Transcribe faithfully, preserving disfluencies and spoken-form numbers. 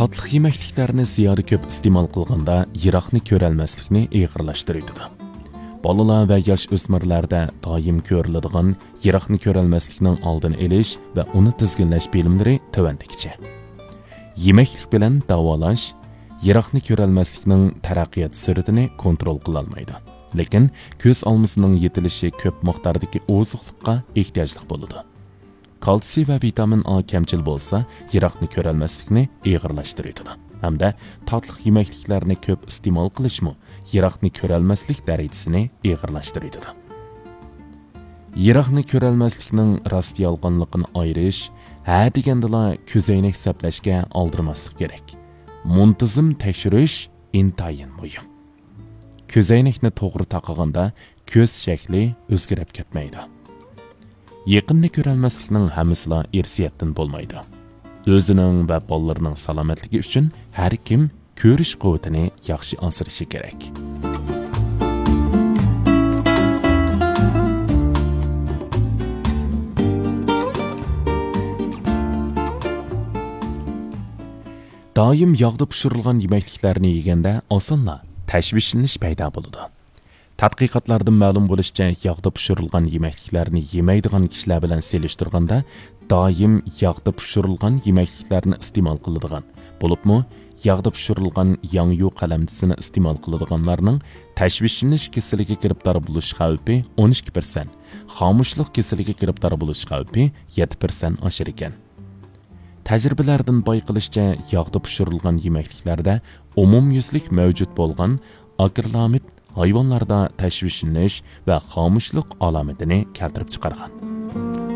تاتلىق يېمەكلىكلەرنى زىيادە كۆپ ئىستېمال قىلغاندا يىراقنى كۆرەلمەسلىكنى ئېغىرلاشتۇرۇۋېتىدۇ. بالىلار ۋە ياش ئۆسمۈرلەردە دائىم كۆرۈلىدىغان يىراقنى كۆرەلمەسلىكنىڭ ئالدىنى ئېلىش ۋە ئۇنى تىزگىنلەش بىلىملىرى تۆۋەندىكىچە. يېمەكلىك بىلەن داۋالاش يىراقنى كۆرەلمەسلىكنىڭ تەرەققىيات سۈرئىتىنى كونترول قىلالمايدۇ. لېكىن كۆز ئالمىسىنىڭ يېتىلىشى كۆپ مىقداردىكى ئوزۇقلۇققا ئېھتىياجلىق بولىدۇ. كالتسىي ۋە ۋىتامىن ئا كەمچىل بولسا، يىراقنى كۆرەلمەسلىكنى ئېغىرلاشتۇرۇۋېتىدۇ ھەمدە تاتلىق يېمەكلىكلەرنى كۆپ ئىستېمال قىلىشمۇ يىراقنى كۆرەلمەسلىك دەرىجىسىنى ئېغىرلاشتۇرۇۋېتىدۇ. يىراقنى كۆرەلمەسلىكنىڭ راست-يالغانلىقىنى ئايرىش، ھە دېگەندىلا كۆزەينەك سەپلەشكە ئالدىرىماسلىق كېرەك. مۇنتىزىم تەكشۈرۈش ئىنتايىن مۇھىم. كۆزەينەكنى توغرا تاقىغاندا كۆز شەكلى ئۆزگىرىپ كەتمەيدۇ. يېقىننى كۆرەلمەسلىكنىڭ ھەممىسىلا ئىرسىيەتتىن بولمايدۇ. ئۆزىنىڭ ۋە بالىلىرىنىڭ سالامەتلىكى ئۈچۈن ھەر كىم كۆرۈش قۇۋۋىتىنى ياخشى ئاسرىشى كېرەك. دائىم ياغدا پىشۇرۇلغان يېمەكلىكلەرنى يېگەندە ئاسانلا تەشۋىشلىنىش پەيدا بولىدۇ. تەتقىقاتلاردىن مەلۇم بولۇشىچە، ياغدا پىشۇرۇلغان يېمەكلىكلەرنى يېمەيدىغان كىشىلەر بىلەن سېلىشتۇرغاندا، دائىم ياغدا پىشۇرۇلغان يېمەكلىكلەرنى ئىستېمال قىلىدىغان، بولۇپمۇ ياغدا پىشۇرۇلغان ياڭيۇ قەلەمچىسىنى ئىستېمال قىلىدىغانلارنىڭ تەشۋىشلىنىش كېسىلىگە گىرىپتار بولۇش خەۋپى ئون ئىككى پىرسەنت، خامۇشلۇق كېسىلىگە گىرىپتار بولۇش خەۋپى يەتتە پىرسەنت ئاشىدىكەن. تەجرىبىلەردىن بايقىلىشىچە، ياغدا پىشۇرۇلغان يېمەكلىكلەردە ئومۇميۈزلۈك مەۋجۇت بولغان ئاكرىلامىد ھايۋانلاردا تەشۋىشلىنىش ۋە خامۇشلۇق ئالامىتىنى كەلتۈرۈپ چىقارغان.